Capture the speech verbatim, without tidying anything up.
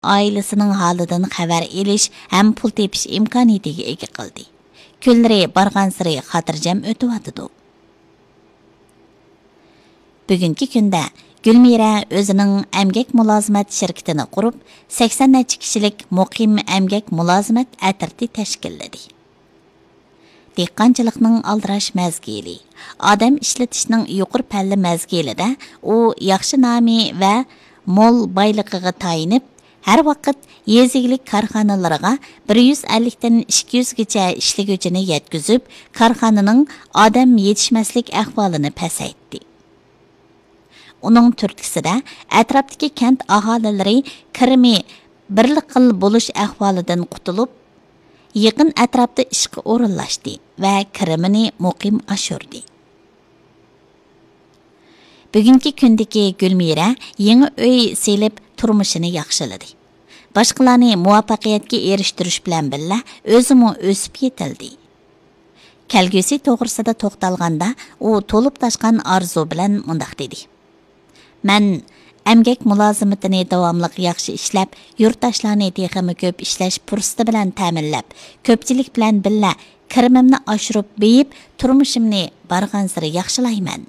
ئائىلىسىنىڭ ھالىدىن خەۋەر ئېلىش ھەم پۇل تېپىش ئىمكانىيىتىگە ئىگە قىلدى. كۈنلىرى بارغانسېرى خاتىرجەم ئۆتۈۋاتىدۇ. بۈگۈنكى كۈندە گۈلمىرە ئۆزىنىڭ ئەمگەك مۇلازىمەت شىركىتىنى قۇرۇپ، سەكسەن نەچچە كىشىلىك مۇقىم ئەمگەك مۇلازىمەت ئەترىتى تەشكىللىدى. دېھقانچىلىقنىڭ ئالدىراش مەزگىلى، ئادەم ئىشلىتىشنىڭ يۇقىرى پەللە مەزگىلىدە ئۇ ياخشى نامى ۋە مول بايلىقىغا تايىنىپ، ھەر ۋاقىت يېزا ئىگىلىك كارخانىلىرىغا بىر يۈز ئەللىكتىن ئىككى يۈزگىچە ئىشلىگۈچىنى يەتكۈزۈپ، كارخانىنىڭ ئادەم يېتىشمەسلىك ئەھۋالىنى پەسەيتتى. ئۇنىڭ تۈرتكىسىدە ئەتراپتىكى كەنت ئاھالىلىرى كىرىمى بىرلا خىل بولۇش ئەھۋالىدىن قۇتۇلۇپ، يېقىن ئەتراپتا ئىشقا ئورۇنلاشتى ۋە كىرىمىنى مۇقىم ئاشۇردى. بۈگۈنكى كۈندىكى گۈلمىرە يېڭى ئۆي سېلىپ، تۇرمۇشىنى ياخشىلىدى. باشقىلارنى مۇۋەپپەقىيەتكە ئېرىشتۈرۈش بىلەن بىللە، ئۆزىمۇ ئۆسۈپ يېتىلدى. كەلگۈسى توغرىسىدا توختالغاندا، ئۇ تولۇپ تاشقان ئارزۇ بىلەن مۇنداق دېدى: مەن ئەمگەك مۇلازىمىتىنى داۋاملىق ياخشى ئىشلەپ، يۇرتداشلارنى تېخىمۇ كۆپ ئىشلەش پۇرسىتى بىلەن تەمىنلەپ، كۆپچىلىك بىلەن بىللە كىرىمىمنى ئاشۇرۇپ بېيىپ، تۇرمۇشۇمنى بارغانسېرى ياخشىلايمەن.